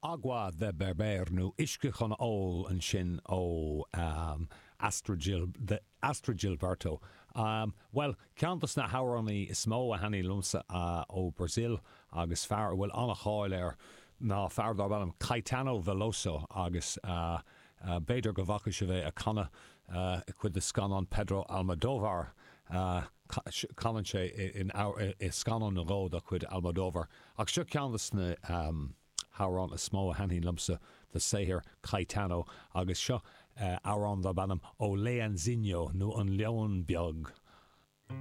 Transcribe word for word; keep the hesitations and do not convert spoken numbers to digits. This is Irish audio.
Água de Beber nó Uisce chun Óil ansin ó um, Astrud Gil, the Astrud Gilberto. Um, well, ceann dos na hamhránaithe is mó a thaitníonn liomsa uh, ó Brazil agus fear a bhfuil an-cháil air ná fear darb ainm Caetano Veloso agus uh, uh, b'fhéidir go bhfaca sibh é ag canadh uh, i cuid de scannán Pedro Almodovar. Uh, canann sé in, i scannán nó dhó de chuid Almodovar. Ach seo ceann des na um, hamhráin is mó a thaitníonn liomsa de shaothar Caetano agus seo uh, amhrán darb ainm O Leãozinho nó an Leon Beag.